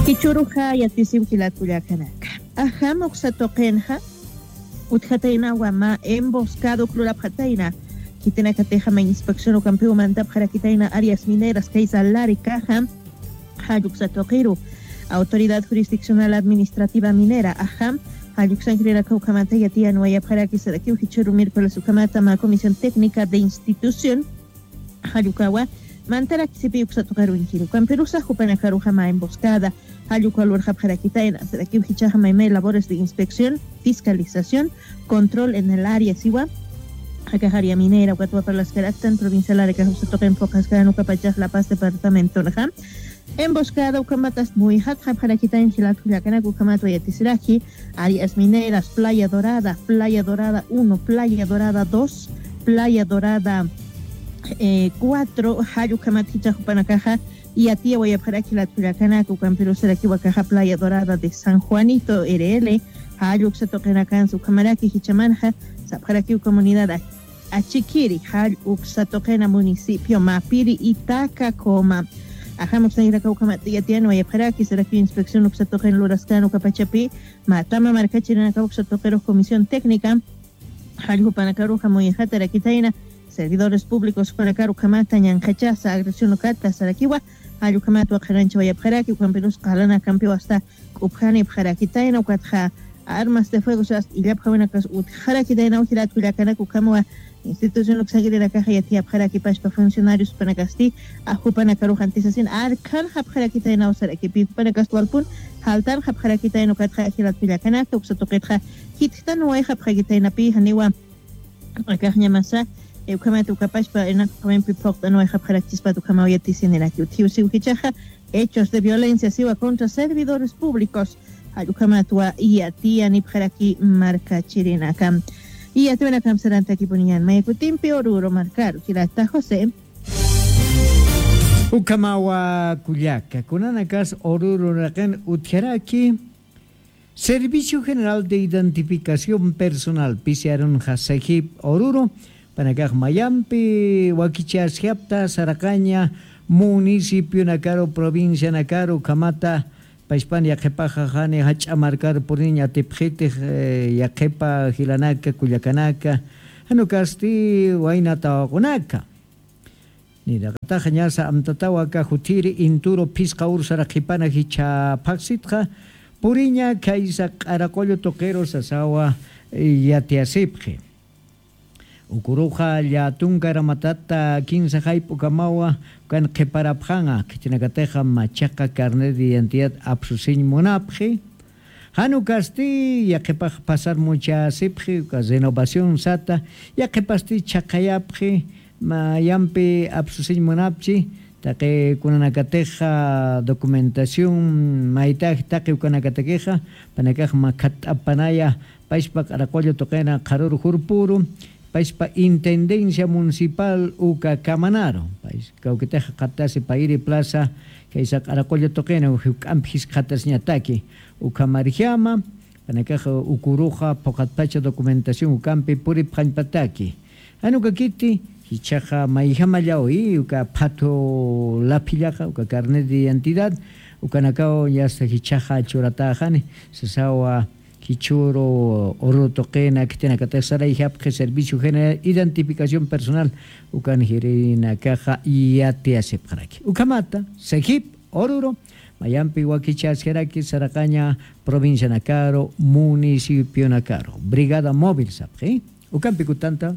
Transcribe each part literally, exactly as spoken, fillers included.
Jichhüruxa yatisiw jilat kullakanaka. Ajam uksa tuqinxa utjataynawa mä emboscada uk lurapxatayna. Khitinakatixa mä inspección ukampiw mantapxarakitayna áreas mineras kaysa Laricaxa. Jall uksa tuqiru Autoridad Jurisdiccional Administrativa Minera, ajam, jall uksankirïnaka ukhamata yatiyanwayapxaraki sarakiw jichhüru miércoles ukhamata mä Comisión Técnica de Institución jall ukawa mantarakisipï uksa tuqirunkiri. Ukampirusa jupanakaruxa mä emboscada jall uka lurxapxarakitayna sarakiw jichhaxa maymay labores de inspección, fiscalización, control en el área siwa. Akax área minera ukat parlaskaraktan provincia Laricax uksa tuqin phuqhaskän ukapachax La Paz departamentonxa. Emboscada ukhamatast muyxatxapxarakitayna jilat kullakanaka ukhamat wayatisiraki. Áreas mineras, Playa Dorada, Playa Dorada uno, Playa Dorada dos, Playa Dorada, eh, cuatro, jall ukhamat jichhax jupanakaxa yatiyawayapxaraki jilat kullakanaka. Ukampirusarakiw akaxa Playa Dorada de San Juanito, R L, jall uksa tuqinakansa ukhamaraki jichhamanxa sapxarakiw comunidad Achikiri, jall uksa tuqina municipio Mapiri, Itaca, Coma. Ajam uksankiraka ukhamat yatiyanwayapxaraki sarakiw inspección uksa tuqin luraskän ukapachapï, mä tama markachirinaka uksa tuqirux comisión técnica jall jupanakaruxa muyxatarakitayna servidores públicos jupanakaru ukhamata ñanqhachasa agresión ukata sarakiwa. Jall ukhamat waqharanchawayapxaraki ukampirus qalanak kampiw asta k'upjanipxarakitayna ukatxa armas de fuego sas illapxawinakas utjarakitaynaw jilat kullakanaka ukhamawa institución uksankirinakaxa yatiyapxaraki pachpa funcionarios jupanakasti. Ajupanakarux antisasin arkhanxapxarakitaynaw sarakipï jupanakasti walpun jaltanxapxarakitayna ukatxa jilat kullakanaka uksa tuqitxa jitjtanwayxapxakitaynapï janiwa akaxñamasa. Ukhamat ukapachpa inaqawimpi phuqt'anwayxapxarakchispat ukhamaw yatisiniraki utjiw siw jichhaxa hechos de violencia siwa contra servidores públicos jall ukhamatwa yatiyanipxaraki markachirinaka. Yatiwinakamp sarantakipuniñan mayakutimpi Oruro markaru jilata José. Ukhamawa kullaka kunanakas Oruro raqin utjaraki Servicio General de Identificación Personal, P C R unxa Sajip Oruro, panakax mayampi wakichasjapta saraqaña municipionakaru, provincianakaru ukhamata, pachpan yaqhipaxa jani jach'a markar puriñ atipxitix, eh, yaqhipa jilanaka, kullakanaka, jan ukasti wayna tawaqunaka. Niraqataxa ñasa amtatawa aka jutiri inturu phisqa ursara qhipana jichha phaxsitxa, puriña khaysa q'araqullu tuqiru sasawa, eh, yatiyasipxi. Ukuruxa llatunka ramatata kinsa jayp'ukamawa ukan qhiparapxanxa, khitinakatixa machaqa carnet de identidad apsusiñ munapxi. Jan ukasti yaqhipax pasar muchasipxi, uka renovación sata, yaqhipasti chhaqhayapxi, mayampi apsusiñ munapchi, taqi kunanakatixa documentación maytax taqi ukanakatakixa, panakax makhat'apanaya, pachpa q'araqullu tuqina qharuru jurpuru, pachpa Intendencia Municipal uka kamanaru, pach-, kawkitixa qatasi Payri Plaza, kaysa q'araqullu tuqina, juk'ampi jiskxatasiñataki, ukhamarjama, panakaxa ukuruxa phuqatpacha documentación ukampi puripxañpataki. Jan ukakiti, jichhaxa mayjamallaw, i, uka phatu laphillaxa, uka carnet de identidad, ukanakaw yasta jichhaxa churatäxani, sasawa, jichhüru Oruro tuqina khitinakatix sarayjapxi Servicio General Identificación Personal, ukan jirinakaxa yatiyasipxaraki. Ukhamata, Sajip Oruro, mayampi wakichasjaraki saraqaña provincianakaru, municipionakaru. Brigada Móvil sapxi. Ukampi kutanta.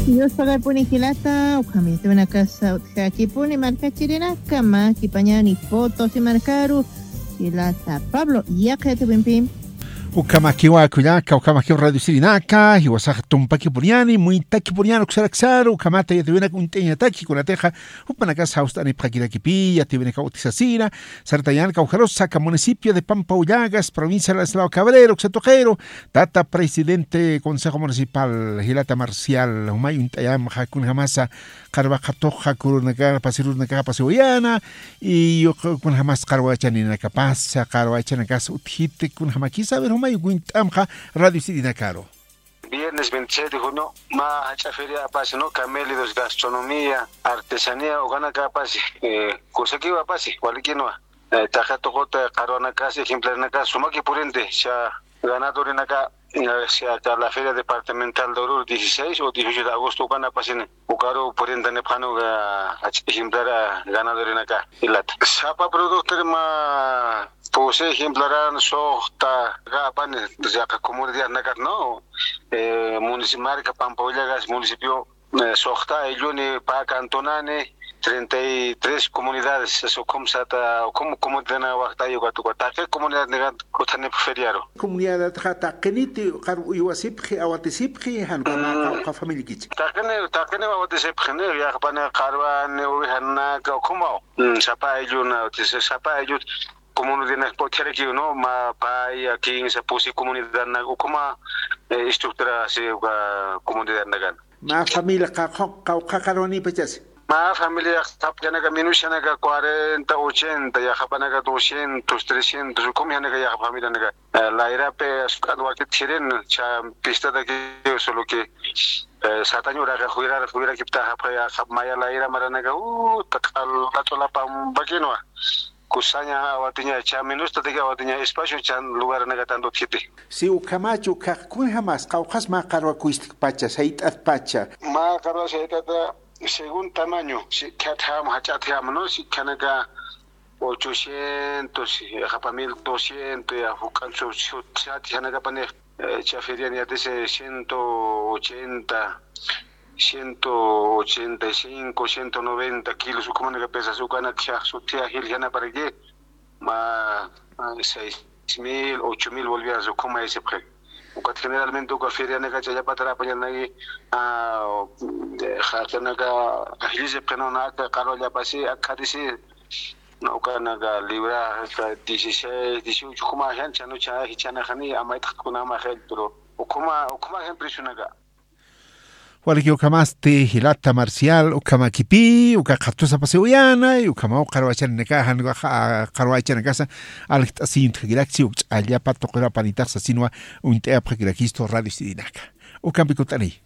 Dios pagapuni jilata, ukham yatiwinakasa utjakipuni markachirinaka, mä kipañani Potosí markaru, jilata Pablo, yaqha yatiwimpi. Ukhamakiwa kullaka, ukhamakiwa radio sirinaka, jiwasax tumpakipuniani, muytakipuniani uksaraksaru, ukhamata yatiwinaka uñt'añataki, kunatixa, jupanakas jawst'anipxakirakipi, yatiwinaka utjasasina, sartañan kawjarusa aka municipio de Pampahullagas, provincia de Ladislao Cabrero, uksa tuqiru, tata presidente Consejo Municipal, jilata Marcial, jumay uñt'ayamxa, kunjamasa, qarwaqatuxa, kurunaka, pasirunaka, pasiwayana, y kunjamas qarwachaninakapasa, qarwachanakas utjiti, kunjamakisa, a ver, jumay uñt'amxa, radio sirinakaru. viernes veintiséis de junio, mä jach'a feria apasi, ¿no? Camélidos, gastronomía, artesanía, ukanaka apasi, eh, kusakiw apasi, walikïnwa. Eh, taqi tuqut qharwanakas, ejemplarenakas, sumaki purinti, cha ganadorinaka, eh, cha la feria departamental de Oruro, dieciséis o dieciocho de agosto, ukan apasini. Ukaru purintanipxäni uka jach'a ejemplar ganadorinaka jilata. Sapa productor mä pusi ejemplaran suxta, aka apani, yaqha comunidadnakat, ¿no? Eh, munici-, marca Pampawillakas municipio, eh, suxta aylluni, pä cantonani, treinta y tres comunidades, ukham sata, ukham comunidadna waxtay ukat, ukat taqi comunidadnikat utjanipxi feriaru. Comunidadxa taqiniti qar uywasipxi, awatisipxi, jan uka mä qawqha familiakichi. Taqini, taqini awatisipxi, ¿no? Yaqhapani qharwani, ovejanaka, ukhamaw. Mm, sapa aylluna, utjisi, sapa ayllut comunidadnak utjarakiw, ¿no? Mä paya, kinsa, pusi comunidadnak, ukhama, eh, estructura, si, uka comunidadnakan. Mä familia qawqha, qawqha qharwanipachasi. Mä familia qhapjanaka, minushanaka cuarenta, ochenta, yaqhapanaka doscientos, trescientos, ukham janaka yaqha familianaka. Eh, layrapi, asuk'at wakit jirin, cha pistatakiw, solo que, eh, satañ uraqi juyrar, juyrakiptapxi, yaqha maya layra maranaka, uh, taq'al, taq'al pambakinwa. Kusaña awatiña, cha minustataki awatiña, espacio chan lugarnaka tanto utjiti. Si ukhamach, ukkhax kunjamas, qawqhas mä qharwa kuystkpacha, sayt'atpacha. Mä qharwa sayt'ata, según tamaño, sikkhatjam, jach'atjam, ¿no? Sikkhanaka ochocientos, yaqhapa mil doscientos, ya juk'an sut, sut, sat, janakapani, eh, cha ferian yatisi ciento ochenta, ciento ochenta y cinco, ciento noventa kilos, ukhamanaka pesas, ukanak sut, ya jil, janaparaki, mä, mä seis mil, ocho mil bolivianos, ukhama aysipxi. Ukat generalmente uka ferianaka ch'allapatar apañanaki, ah, jaqinaka ajllisipxi, ¿no? Naka qharwallapasi, akhatisi, ¿no? Ukanaka libra, aka dieciséis, dieciocho, ukhama jan, chanu cha, jichhanaxani, amayt'aqkunama jil, pero ukhama, ukhama jan preciunaka. Waliki ukhamasti jilata Marcial, ukhamakipï, uka qhatusapasiw uyanay, ukhamaw qharwachaninaka, jan ukax, ah, qharwachanakasa, aljt'asiñ utjakirakchi, uk ch'allapa tuqir apanitax sasinwa, uñt'ayapxakirakistu radio sidinaka. Ukampi kutt'aniy.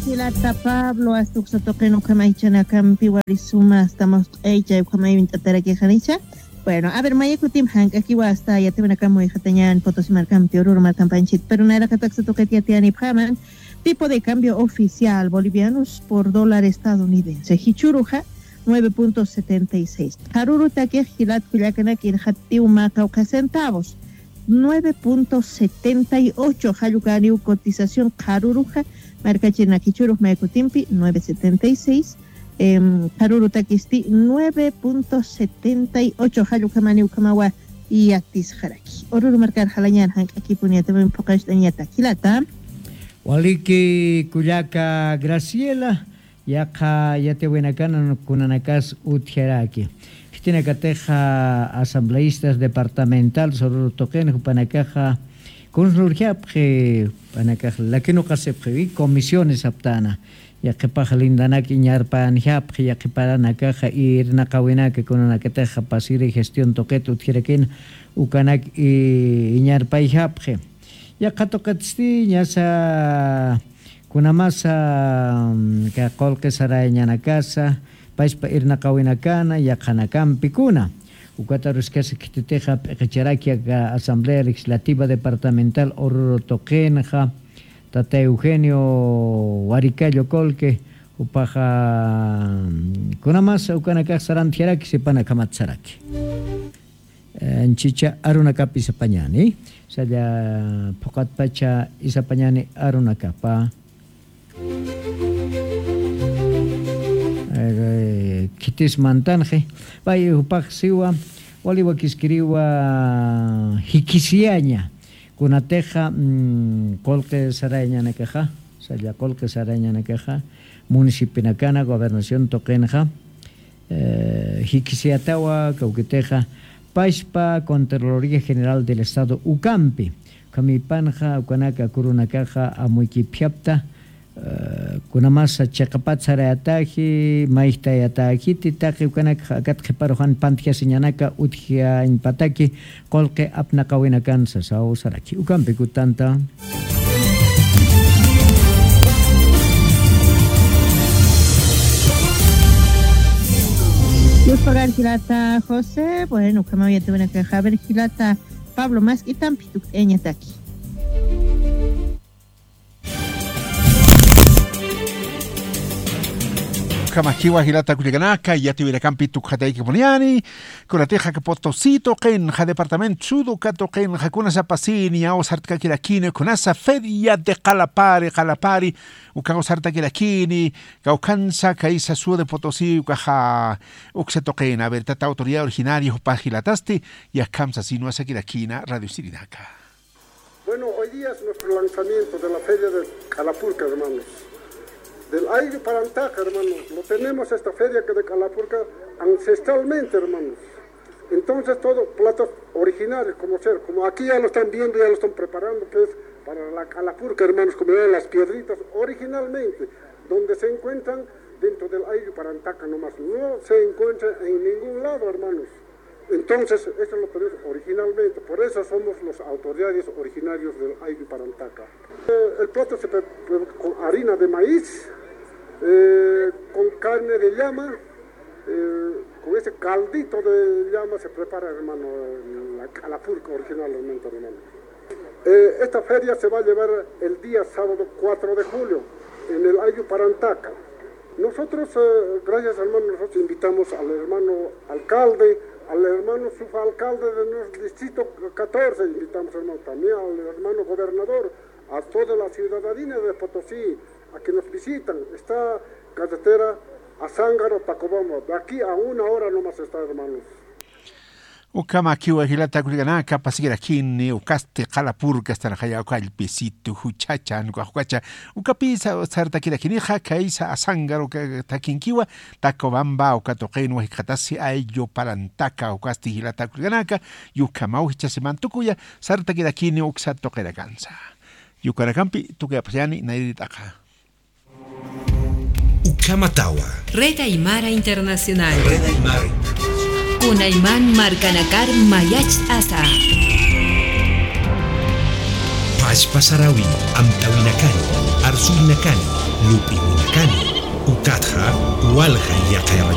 Jilata Pablo, asta uksa tuqin ukhama jichhanakampi wali suma, asta mawst'aycha, ukhamay uñt'atarakixanicha. Bueno, a ver, maya kutim jank'akiwa asta yatiyawinakam muyxatañäni Potosí markampi, Oruro markampanchit. Pero nayraqat aksa tuqit yatiyanipxäman, tipo de cambio oficial, bolivianos por dólar estadounidense. Jichhüruxa, nueve punto setenta y seis. Qharürutakix jilat kullakanak irxatiw mä qawqha centavos. Nueve punto setenta y ocho, jall ukäniw cotización qharüruxa, markachirinaka jichhürux maya kutimpi, nueve setenta y seis, em, qharürutakisti, nueve punto setenta y ocho, jall ukhamaniw ukhamawa yatisxaraki. Oruro markar jalañän jank'akipuni yatiyawin phuqañcht'añatak jilata. Waliki kullaka Graciela, yaqha yatiyawinakana kunanakas utjaraki. Khitinakatixa asambleístas departamentales Oruro tuqin jupanakaxa kunsa lurjapxi, jupanakax lakinuqasipxi, comisiones aptana. Yaqhipax lindanak iñarpanjapxi, yaqhiparanakaxa irnaqawinaka kunanakatixa pasiri gestión tuqit utjarakina ukanak i-, iñarpayjapxi. Yaqha tuqitsti ñasa kunamasa, mm, ka qullqi sarayañanakasa, payspa irnaqawinakana, yaqhanakampi kuna. Ukat aruskasa khititixa p'iqicharak aka Asamblea Legislativa Departamental Oruro tuqinxa, tata Eugenio Waricallo Colque, jupaxa, mm, kunamasa ukanakax sarantjaraki, sipanakhamat saraki. Eh, anchicha arunakap isapañani, salla phuqatpacha isapañani arunakapa. Eh, khitis mantanxi, pay jupax siwa, wali wakiskiriwa jikisiyaña, kunatixa, mm, qullqi sarayañanakaxa, salla qullqi sarayañanakaxa, municipionakana, gobernación tuqinxa, eh, jikisiyatawa kawkitixa, payspa Contraloría General del Estado ukampi, ukhamipanxa, ukanaka kurunakaxa amuykipjapta, Eh, kunamasa chiqapat sarayataji, mayjtayataji, titaqi ukanakxa akat qhiparuxan pantjasiñanaka utjiañpataki, qulqi apnaqawinakan sasaw saraki. Ukampi kutanta. Yuspagar jilata José, bueno, ukhamaw yatiwinakaxa, a ver, jilata Pablo, mask'itampi tukt'ayañataki. Ukhamakiwa jilata kullakanaka, yatiwinakampi tukxataykipuniyani, kunatixa aka Potosí tuqinxa, departamento Sur uka tuqinxa, kunasapasini, aw sartkakirakini, kunasa feria de qalapari, qalapari, ukaw sartakirakini, kawkhansa kaysa Sur de Potosí, ukaxa uksa tuqina, a ver, tata autoridad originaria jupa jilatasti, yakham sasin wasakirakina, Radio Sirinaka. Bueno, hoy día es nuestro lanzamiento de la feria de Qalapurka, hermanos. Del Ayllu Parantaqa, hermanos. Lo tenemos esta feria que de Qalapurka ancestralmente, hermanos. Entonces, todo platos originarios, como ser, como aquí ya lo están viendo, ya lo están preparando, que es para la Qalapurka, hermanos, como eran las piedritas originalmente, donde se encuentran dentro del Ayllu Parantaqa nomás. No se encuentra en ningún lado, hermanos. Entonces, eso lo tenemos originalmente, por eso somos los autoridades originarios del Ayllu Parantaqa. Eh, el plato se pre-, pre-, con harina de maíz, eh, con carne de llama, eh, con ese caldito de llama se prepara, hermano, la Qalapurka originalmente, hermano. Eh, esta feria se va a llevar el día sábado cuatro de julio en el Ayllu Parantaqa. Nosotros, eh, gracias, hermano, nosotros invitamos al hermano alcalde, al hermano subalcalde de nuestro distrito catorce, invitamos, hermano, también al hermano gobernador, a toda la ciudadanía de Potosí, a que nos visitan. Está carretera Azángaro, Tacobamba. De aquí a una hora nomás está, hermanos. Ukhamakiwa jilata kullakanaka, pasikirakini, ukasti Qalapurka, astanaxaya uka allpisitu, juchhacha, nukax ukacha, ukapisa sartakirakinixa, kaysa Azángaro uka takinkiwa, Tacobamba, uka tuqin wajikxatasi, Ayllu Parantaqa, ukasti jilata kullakanaka, ukhamaw jichhasiman tukuya, sartakirakini uksa tuqinakansa. Yukanakampi, tukuyapxayani, nayrit'aqa. Ukhamatawa. Red Aymara Internacional. Red Aymara Internacional. Kunayman markanakar mayacht'asa. Pachpa sarawi, amtawinakani, arsurinakani, lup'iwinakani, ukatxa, walja yaqayawa